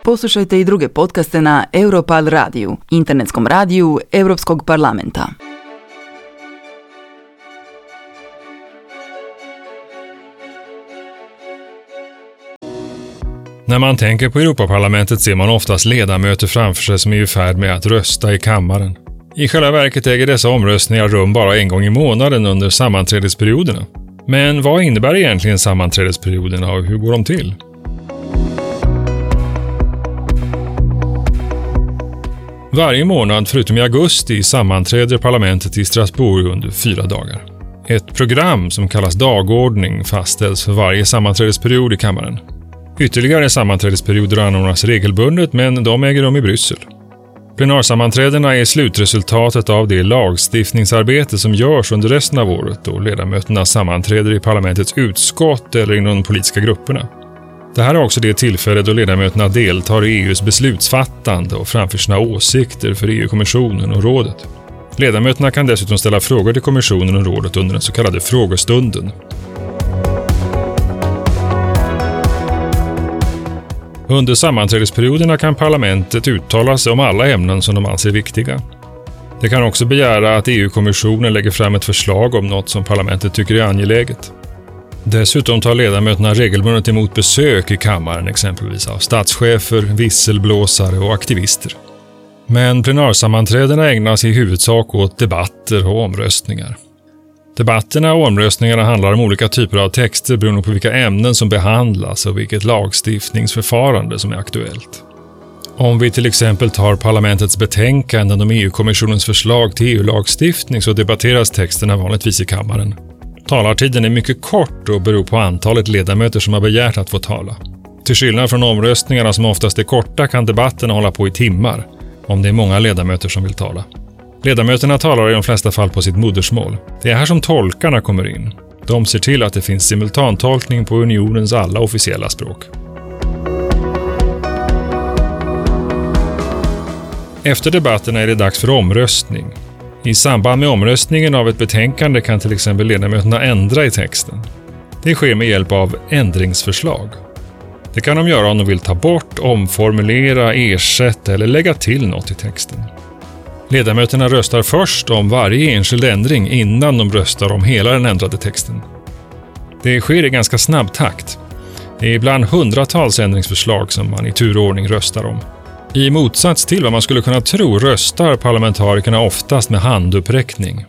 Poslušajte i druge podcaste na Europal radiju, internetskom radiju Europskog parlamenta. När man tänker på Europaparlamentet ser man oftast ledamöter framför sig som är i färd med att rösta i kammaren. I själva verket äger dessa omröstningar rum bara en gång i månaden under sammanträdesperioderna. Men vad innebär egentligen sammanträdesperioderna och hur går de till? Varje månad förutom i augusti sammanträder parlamentet i Strasbourg under fyra dagar. Ett program som kallas dagordning fastställs för varje sammanträdesperiod i kammaren. Ytterligare sammanträdesperioder anordnas regelbundet, men de äger rum i Bryssel. Plenarsammanträdena är slutresultatet av det lagstiftningsarbete som görs under resten av året då ledamöterna sammanträder i parlamentets utskott eller inom de politiska grupperna. Det här är också det tillfälle då ledamöterna deltar i EUs beslutsfattande och framför sina åsikter för EU-kommissionen och rådet. Ledamöterna kan dessutom ställa frågor till kommissionen och rådet under den så kallade frågestunden. Under sammanträdesperioderna kan parlamentet uttala sig om alla ämnen som de anser viktiga. Det kan också begära att EU-kommissionen lägger fram ett förslag om något som parlamentet tycker är angeläget. Dessutom tar ledamöterna regelbundet emot besök i kammaren exempelvis av statschefer, visselblåsare och aktivister. Men plenarsammanträdena ägnas i huvudsak åt debatter och omröstningar. Debatterna och omröstningarna handlar om olika typer av texter beroende på vilka ämnen som behandlas och vilket lagstiftningsförfarande som är aktuellt. Om vi till exempel tar parlamentets betänkanden om EU-kommissionens förslag till EU-lagstiftning så debatteras texterna vanligtvis i kammaren. Talartiden är mycket kort och beror på antalet ledamöter som har begärt att få tala. Till skillnad från omröstningarna som oftast är korta kan debatterna hålla på i timmar, om det är många ledamöter som vill tala. Ledamöterna talar i de flesta fall på sitt modersmål. Det är här som tolkarna kommer in. De ser till att det finns simultantolkning på unionens alla officiella språk. Efter debatterna är det dags för omröstning. I samband med omröstningen av ett betänkande kan till exempel ledamöterna ändra i texten. Det sker med hjälp av ändringsförslag. Det kan de göra om de vill ta bort, omformulera, ersätta eller lägga till något i texten. Ledamöterna röstar först om varje enskild ändring innan de röstar om hela den ändrade texten. Det sker i ganska snabb takt. Det är ibland hundratals ändringsförslag som man i turordning röstar om. I motsats till vad man skulle kunna tro röstar parlamentarikerna oftast med handuppräckning.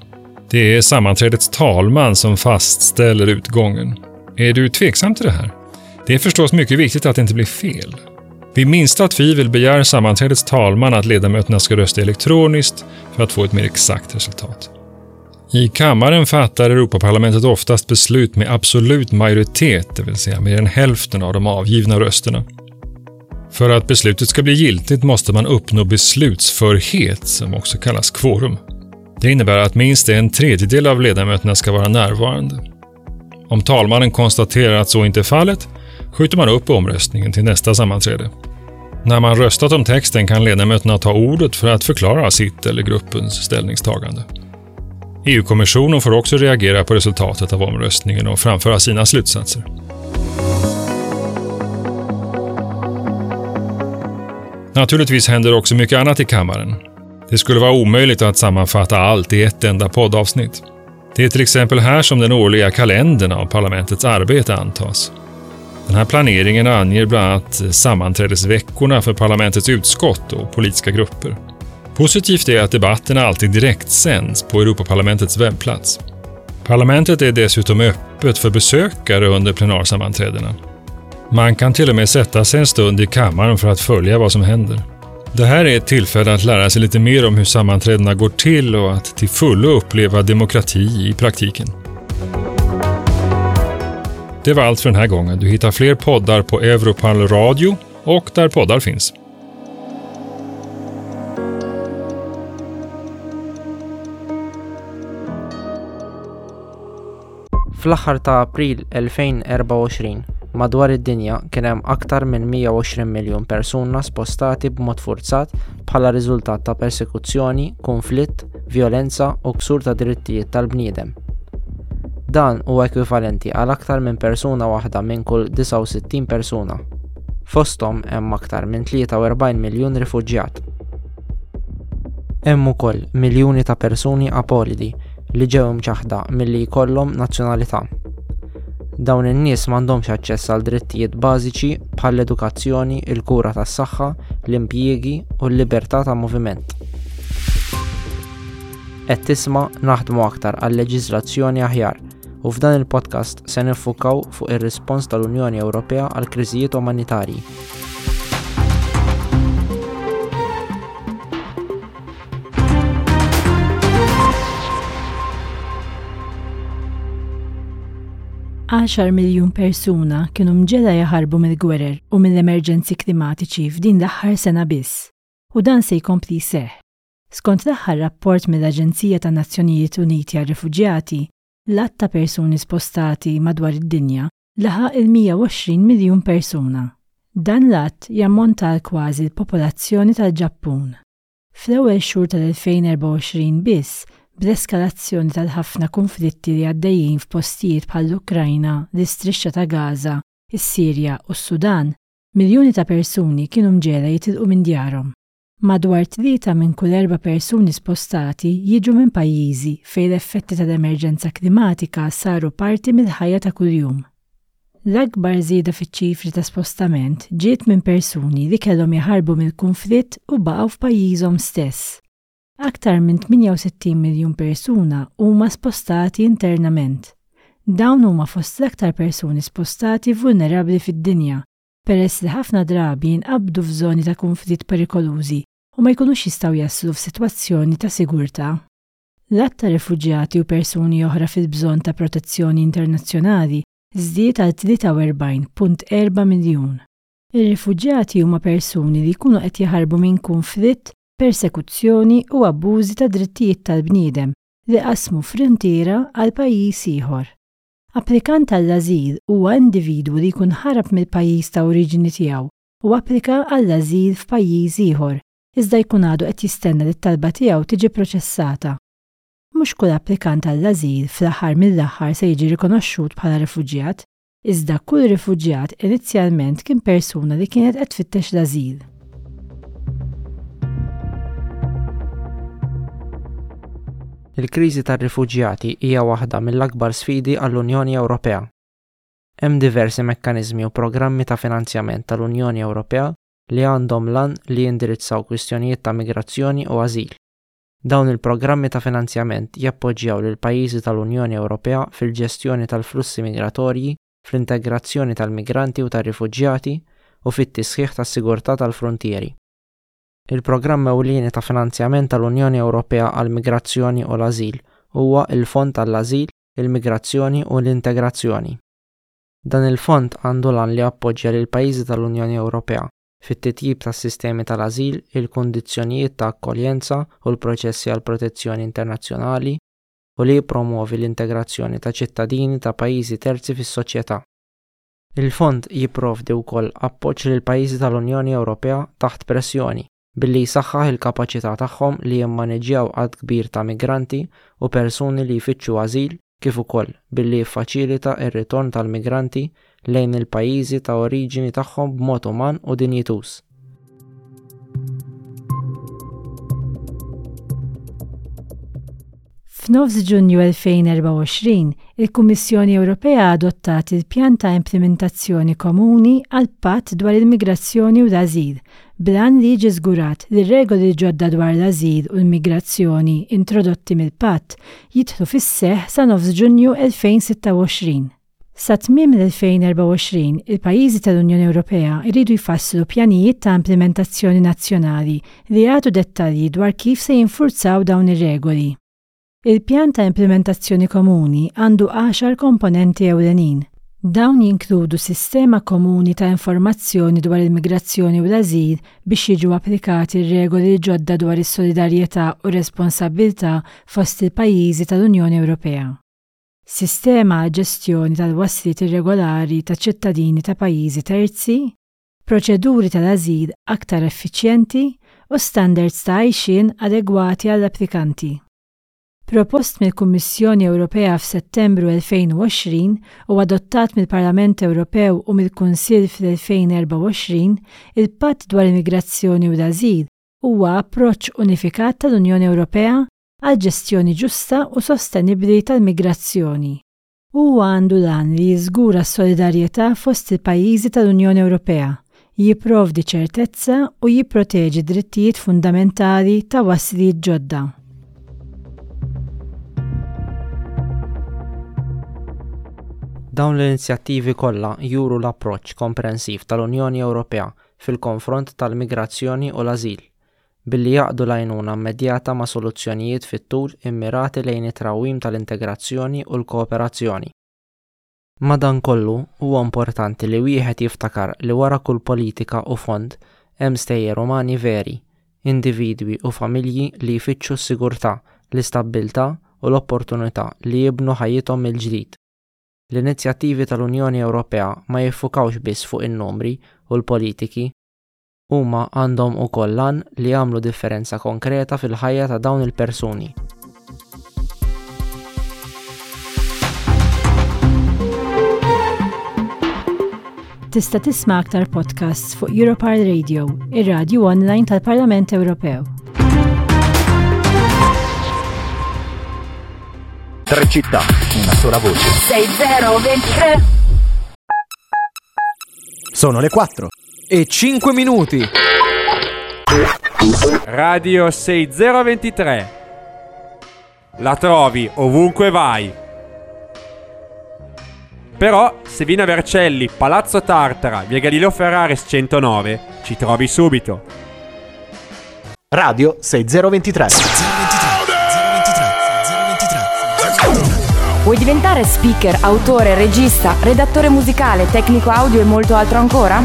Det är sammanträdets talman som fastställer utgången. Är du tveksam till det här? Det är förstås mycket viktigt att det inte blir fel. Vid minsta tvivel begär sammanträdets talman att ledamöterna ska rösta elektroniskt för att få ett mer exakt resultat. I kammaren fattar Europaparlamentet oftast beslut med absolut majoritet, det vill säga mer än hälften av de avgivna rösterna. För att beslutet ska bli giltigt måste man uppnå beslutsförhet, som också kallas kvorum. Det innebär att minst en tredjedel av ledamöterna ska vara närvarande. Om talmannen konstaterar att så inte är fallet skjuter man upp omröstningen till nästa sammanträde. När man röstat om texten kan ledamöterna ta ordet för att förklara sitt eller gruppens ställningstagande. EU-kommissionen får också reagera på resultatet av omröstningen och framföra sina slutsatser. Naturligtvis händer också mycket annat i kammaren. Det skulle vara omöjligt att sammanfatta allt i ett enda poddavsnitt. Det är till exempel här som den årliga kalendern av parlamentets arbete antas. Den här planeringen anger bland annat sammanträdesveckorna för parlamentets utskott och politiska grupper. Positivt är att debatterna alltid direktsänds på Europaparlamentets webbplats. Parlamentet är dessutom öppet för besökare under plenarsammanträdena. Man kan till och med sätta sig en stund i kammaren för att följa vad som händer. Det här är ett tillfälle att lära sig lite mer om hur sammanträdena går till och att till fullo uppleva demokrati i praktiken. Det var allt för den här gången. Du hittar fler poddar på Europal Radio och där poddar finns. Fl-aħħar ta' April 2024, madwar id-dinja kien hemm aktar minn 120 miljun persuna spostati b'mod furzat bħala riżultat ta' persekuzzjoni, kunflitt, vjolenza u ksur ta' drittijiet tal-bniedem. Dan huwa ekwivalenti għal aktar minn persuna waħda minn kull 69 persuna. Fosthom hemm aktar minn 43 miljun rifuġjat. Hemm ukoll miljuni ta' persuni apolidi li ġew imċaħħda milli jkollhom nazzjonalità. Dawn in-nies m'għandhomx aċċess għal drittijiet bażiċi bħall-edukazzjoni, il-kura tas-saħħa, l-impjiegi u l-libertà ta' moviment. Qed tisma' naħdmu aktar għal leġiżlazzjoni aħjar u f'dan il-podcast se niffukaw fuq ir-rispons tal-Unjoni Ewropea għal kriżijiet umanitarji. Għaxar miljun persuna kienu mġegħla jaħarbu mill-gwerer u mill-emerġenzi klimatiċi f'din l-aħħar sena biss, u dan se jkompli jseħħ. Skont l-aħħar rapport mill-Aġenzija tan-Nazzjonijiet Uniti għar-Refuġjati, l-għadd ta' persuni spostati madwar id-dinja laħaq il-120 miljun persuna. Dan l-għadd jammonta għal kważi l-popolazzjoni tal-Ġappun. Fl-ewwel xhur tal-2024 biss, bl-eskalazzjoni tal-ħafna kunflitti li għaddejjin f'postijiet bħall-Ukrajna, l-Istrixxa ta' Gaza, is-Sirja u s-Sudan, miljuni ta' persuni kienu mġegħla jitilqu minn djarhom. Madwar tlieta minn kull erba' persuni spostati jiġu minn pajjiżi fejn l-effetti tal-emerġenza klimatika saru parti mill-ħajja ta' kuljum. L-akbar żieda fiċ-ċifri ta' spostament ġiet minn persuni li kellhom jaħarbu mill-kunflitt u baqgħu f'pajjiżhom stess. Aktar minn 68 miljun persuna huma spostati internament. Dawn huma fost l-aktar persuni spostati vulnerabbli fid-dinja peress li ħafna drabi jinqabdu f'żoni ta' kunflitt perikolużi u ma jkunux jistgħu jaslu f'sitwazzjoni ta' sigurtà. L-għadd ta' refuġjati u persuni oħra fil-bżonn ta' protezzjoni internazzjonali żdied għal 43.4 miljun. Ir-rifuġjati huma persuni li jkunu qed jaħarbu minn kunflitt, persekuzzjoni u abbużi tad-drittijiet tal-bniedem li qasmu fruntiera għal pajjiż ieħor. Applikant għall-ażil huwa individwu li jkun ħarab mill-pajjiż ta' oriġini tiegħu u applika għall-ażil f'pajjiż ieħor, iżda jkun għadu qed jistenna li t-talba tiegħu tiġi pproċessata. Mhux kull applikant għall-ażil fl-aħħar mill-aħħar se jiġi rikonoxxut bħala refuġjat, iżda kull rifuġjat inizjalment kien persuna li kienet qed tfittex l-ażil. Il-kriżi tar-rifuġjati hija waħda mill-akbar sfidi għall-Unjoni Ewropea. Hemm diversi mekkaniżmi u programmi ta' finanzjament tal-Unjoni Ewropea li għandhom l-għan li jindirizzaw kwistjonijiet ta' migrazzjoni u ażil. Dawn il-programmi ta' finanzjament jappoġġjaw lill-pajjiżi tal-Unjoni Ewropea fil-ġestjoni tal-flussi migratorji, fl-integrazzjoni tal-migranti u tar-rifuġjati u fit-tisħiħ tas-sigurtà tal-fruntieri. Il-programm ewlieni ta' finanzjament tal-Unjoni Ewropea għall-migrazzjoni u l-ażil huwa l-Fond għall-Ażil, il-Migrazzjoni u l-Integrazzjoni. Dan il-fond għandu l-għan li jappoġġja lill-pajjiżi tal-Unjoni Ewropea fit-titjib tas-sistemi tal-ażil, il-kundizzjonijiet ta' akkoljenza u l-proċessi għall-protezzjoni internazzjonali, u li jippromwovi l-integrazzjoni ta' ċittadini ta' pajjiżi terzi fis-soċjetà. Il-Fond jipprovdi wkoll appoġġ lill-pajjiżi tal-Unjoni Ewropea taħt pressjoni billi jsaħħaħ il-kapaċità tagħhom li jimmaniġġjaw għadd kbir ta' migranti u persuni li jfittxu ażil kif ukoll billi jiffaċilita r-ritorn tal-migranti lejn il-pajjiżi ta' oriġini tagħhom b'mod uman u dinjituż. F'nofs Ġunju 2024, il-Kummissjoni Ewropea adottat il-Pjan ta' Implimentazzjoni Komuni għall-Patt dwar il-Migrazzjoni u l-Ażil, bl-għan li jiġi żgurat li r-regoli l-ġodda dwar l-ażil u l-migrazzjoni introdotti mill-Patt jidħlu fis-seħħ sa nofs Ġunju 2026. Sa tmiem l-2024, il-pajjiżi tal-Unjoni Ewropea jridu jfasslu pjanijiet ta' implimentazzjoni nazzjonali li jagħtu dettalji dwar kif se jinfurzaw dawn ir-regoli. Il-pjan ta' implimentazzjoni komuni għandu għaxar komponenti ewlenin. Dawn jinkludu sistema komuni ta' informazzjoni dwar il-migrazzjoni u l-ażil biex jiġu applikati r-regoli l-ġodda dwar is-solidarjetà u r-responsabbiltà fost il-pajjiżi tal-Unjoni Ewropea. Sistema għall-ġestjoni tal-wasliet irregolari ta' ċittadini ta' pajjiżi terzi, proċeduri tal-ażil aktar effiċjenti u standards ta' għajxien adegwati għall-applikanti. Propost mill-Kummissjoni Ewropea f'Settembru 2020 u adottat mill-Parlament Ewropew u mill-Kunsill fl-2024, il-Patt dwar il-Migrazzjoni u l-Ażil huwa approċċ unifikat tal-Unjoni Ewropea għal ġestjoni ġusta u sostenibbli tal-migrazzjoni. Huwa għandu l-għan li jiżgura s-solidarjetà fost il-pajjiżi tal-Unjoni Ewropea, jipprovdi ċertezza u jipproteġi d-drittijiet fundamentali ta' wasliet ġodda. Dawn l-inizjattivi kollha juru l-approċċ komprensiv tal-Unjoni Ewropea fil-konfront tal-migrazzjoni u l-ażil, billi jgħaqqdu l-għajnuna immedjata ma' soluzzjonijiet fit-tul immirati lejn it-trawwim tal-integrazzjoni u l-kooperazzjoni. Madankollu, huwa importanti li wieħed jiftakar li wara kull politika u fond hemm stejjer umani veri, individwi u familji li jfittxu s-sigurtà, l-istabbiltà u l-opportunità li jibnu ħajjithom mill-ġdid. L-inizjattivi tal-Unjoni Ewropea ma jiffukawx biss fuq in-numri u l-politiki, Huma għandhom ukoll l-għan li jagħmlu differenza konkreta fil-ħajja ta' dawn il-persuni. Tista' tisma' aktar podcasts fuq Europar Radio, ir-radju online tal-Parlament Ewropew. Tre città, una sola voce. 6023 Sono le 4 e 5 minuti. Radio 6023. La trovi ovunque vai. Però, se vieni a Vercelli, Palazzo Tartara, via Galileo Ferraris 109, ci trovi subito. Radio 6023. Vuoi diventare speaker, autore, regista, redattore musicale, tecnico audio e molto altro ancora?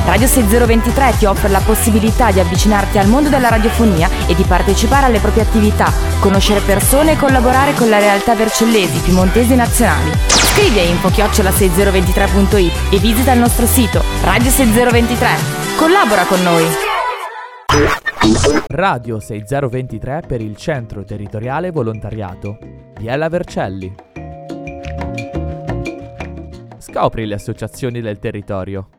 Radio 6023 ti offre la possibilità di avvicinarti al mondo della radiofonia e di partecipare alle proprie attività, conoscere persone e collaborare con la realtà vercellesi, piemontesi e nazionali. Scrivi a info-6023.it e visita il nostro sito Radio 6023. Collabora con noi! Radio 6023 per il Centro Territoriale Volontariato. Biella Vercelli. Scopri le associazioni del territorio.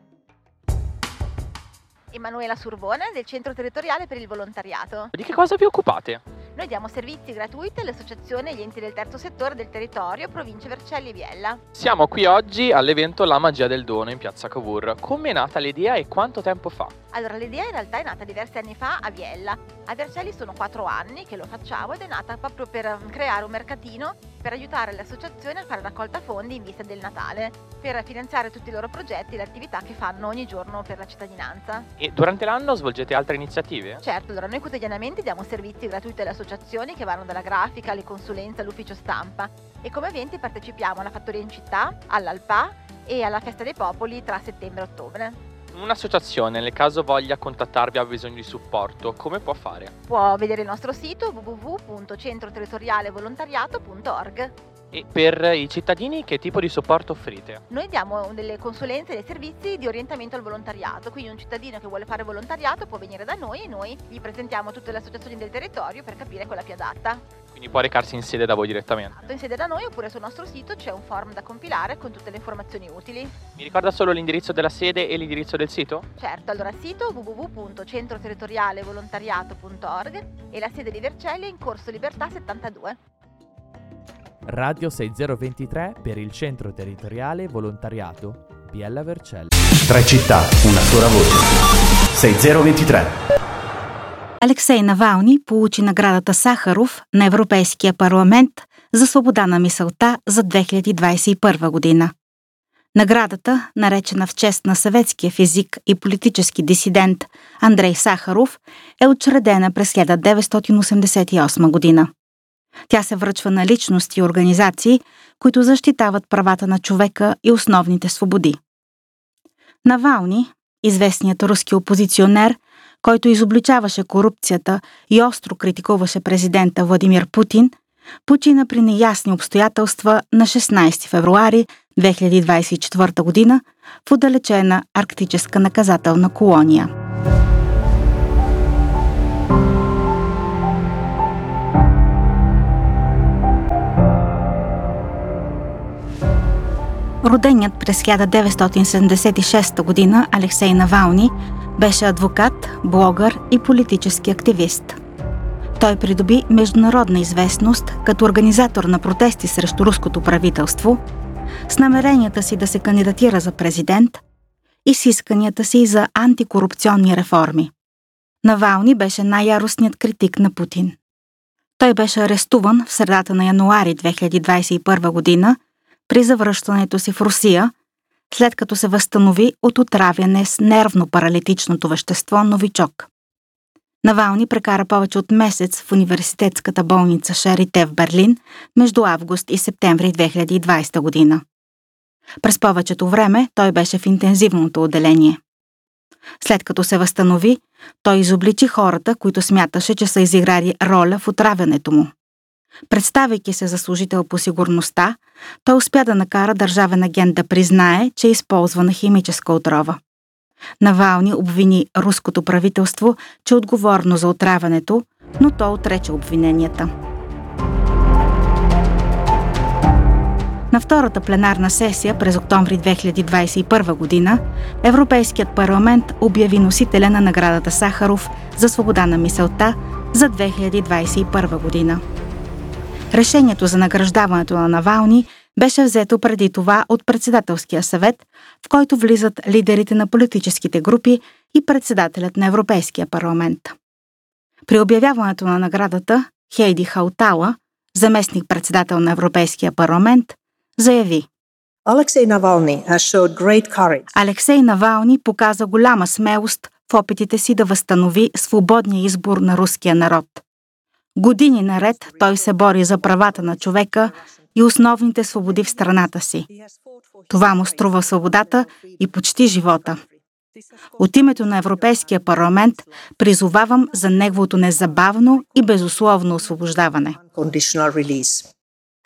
Emanuela Surbone del Centro Territoriale per il Volontariato. Di che cosa vi occupate? Noi diamo servizi gratuiti alle associazioni e agli enti del terzo settore del territorio, provincia Vercelli e Biella. Siamo qui oggi all'evento La magia del dono in piazza Cavour. Come è nata l'idea e quanto tempo fa? Allora, l'idea in realtà è nata diversi anni fa a Biella. A Vercelli sono 4 anni che lo facciamo ed è nata proprio per creare un mercatino per aiutare le associazioni a fare raccolta fondi in vista del Natale, per finanziare tutti i loro progetti e le attività che fanno ogni giorno per la cittadinanza. E durante l'anno svolgete altre iniziative? Certo, allora noi quotidianamente diamo servizi gratuiti alle associazioni che vanno dalla grafica alle consulenze all'ufficio stampa e come eventi partecipiamo alla Fattoria in città, all'Alpa e alla Festa dei Popoli tra settembre e ottobre. Un'associazione, nel caso voglia contattarvi, ha bisogno di supporto, come può fare? Può vedere il nostro sito www.centroterritorialevolontariato.org. E per i cittadini che tipo di supporto offrite? Noi diamo delle consulenze e dei servizi di orientamento al volontariato, quindi un cittadino che vuole fare volontariato può venire da noi e noi gli presentiamo tutte le associazioni del territorio per capire quella più adatta. Quindi può recarsi in sede da voi direttamente? Esatto, in sede da noi oppure sul nostro sito c'è un form da compilare con tutte le informazioni utili. Mi ricorda solo l'indirizzo della sede e l'indirizzo del sito? Certo, allora sito www.centroterritorialevolontariato.org e la sede di Vercelli è in Corso Libertà 72. Radio 6023 per il Centro Territoriale Volontariato Biella Vercelli. Tre città, una sola voce. 6023. Алексей Навални получи наградата Сахаров на Европейския парламент за свобода на мисълта за 2021 година. Наградата, наречена в чест на съветския физик и политически дисидент Андрей Сахаров, е учредена през 1988 година. Тя се връчва на личности и организации, които защитават правата на човека и основните свободи. Навални, известният руски опозиционер, който изобличаваше корупцията и остро критикуваше президента Владимир Путин, почина при неясни обстоятелства на 16 февруари 2024 година в отдалечена арктическа наказателна колония. Роденият през 1976 година Алексей Навални беше адвокат, блогър и политически активист. Той придоби международна известност като организатор на протести срещу руското правителство, с намеренията си да се кандидатира за президент и с исканията си за антикорупционни реформи. Навални беше най-яростният критик на Путин. Той беше арестуван в средата на януари 2021 година при завръщането си в Русия, след като се възстанови от отравяне с нервно-паралитичното вещество Новичок. Навални прекара повече от месец в университетската болница Шарите в Берлин между август и септември 2020 година. През повечето време той беше в интензивното отделение. След като се възстанови, той изобличи хората, които смяташе, че са изиграли роля в отравянето му. Представяйки се за служител по сигурността, той успя да накара държавен агент да признае, че е използвана химическа отрова. Навални обвини руското правителство, че е отговорно за отравянето, но то отрече обвиненията. На втората пленарна сесия през октомври 2021 година Европейският парламент обяви носителя на наградата Сахаров за свобода на мисълта за 2021 година. Решението за награждаването на Навални беше взето преди това от Председателския съвет, в който влизат лидерите на политическите групи и председателят на Европейския парламент. При обявяването на наградата Хейди Хаутала, заместник-председател на Европейския парламент, заяви: Алексей Навални has showed great courage. Алексей Навални показа голяма смелост в опитите си да възстанови свободния избор на руския народ. Години наред той се бори за правата на човека и основните свободи в страната си. Това му струва свободата и почти живота. От името на Европейския парламент призовавам за неговото незабавно и безусловно освобождаване.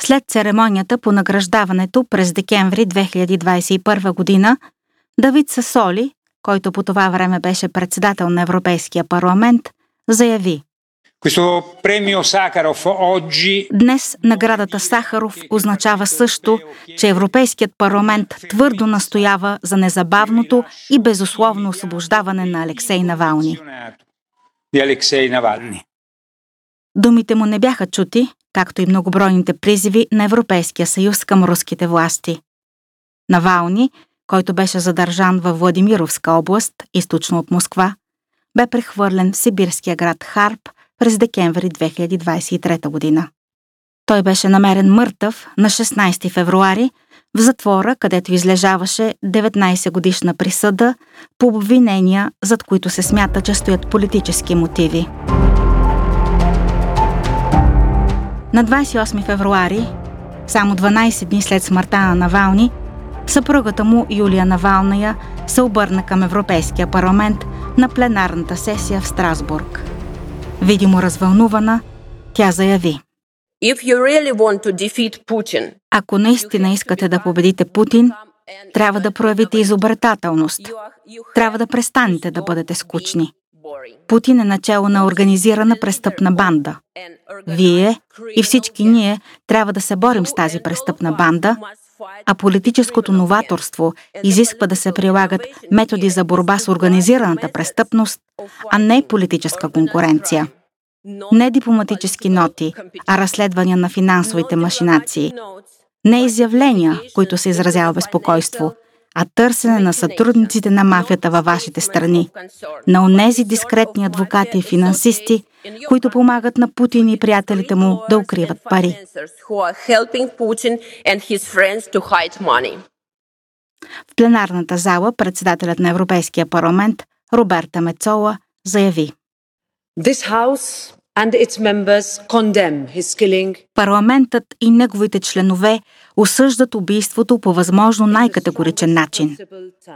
След церемонията по награждаването през декември 2021 година, Давид Сасоли, който по това време беше председател на Европейския парламент, заяви: Днес наградата Сахаров означава също, че Европейският парламент твърдо настоява за незабавното и безусловно освобождаване на Алексей Навални. Думите му не бяха чути, както и многобройните призиви на Европейския съюз към руските власти. Навални, който беше задържан във Владимировска област, източно от Москва, бе прехвърлен в сибирския град Харп през декември 2023 година. Той беше намерен мъртъв на 16 февруари в затвора, където излежаваше 19-годишна присъда по обвинения, зад които се смята, че стоят политически мотиви. На 28 февруари, само 12 дни след смъртта на Навални, съпругата му Юлия Навалная се обърна към Европейския парламент на пленарната сесия в Страсбург. Видимо развълнувана, тя заяви: Ако наистина искате да победите Путин, трябва да проявите изобретателност. Трябва да престанете да бъдете скучни. Путин е начело на организирана престъпна банда. Вие и всички ние трябва да се борим с тази престъпна банда, а политическото новаторство изисква да се прилагат методи за борба с организираната престъпност, а не политическа конкуренция. Не дипломатически ноти, а разследвания на финансовите машинации. Не изявления, които се изразява безпокойство, а търсене на сътрудниците на мафията във вашите страни, на онези дискретни адвокати и финансисти, които помагат на Путин и приятелите му да укриват пари. В пленарната зала председателят на Европейския парламент Роберта Мецола заяви: Парламентът и неговите членове осъждат убийството по възможно най-категоричен начин.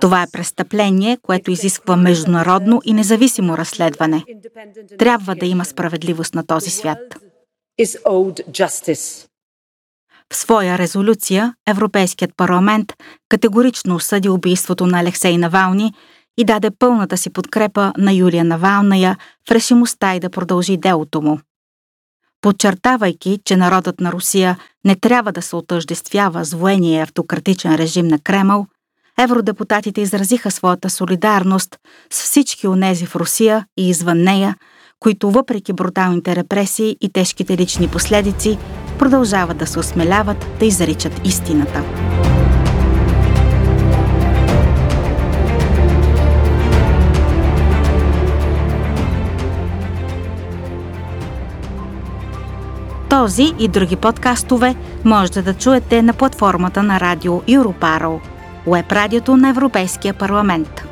Това е престъпление, което изисква международно и независимо разследване. Трябва да има справедливост на този свят. В своя резолюция Европейският парламент категорично осъди убийството на Алексей Навални и даде пълната си подкрепа на Юлия Навалная в решимостта й да продължи делото му. Подчертавайки, че народът на Русия не трябва да се отъждествява с военния автократичен режим на Кремъл, евродепутатите изразиха своята солидарност с всички онези в Русия и извън нея, които въпреки бруталните репресии и тежките лични последици, продължават да се осмеляват да изричат истината. Този и други подкастове можете да чуете на платформата на радио Europarl, уеб радиото на Европейския парламент.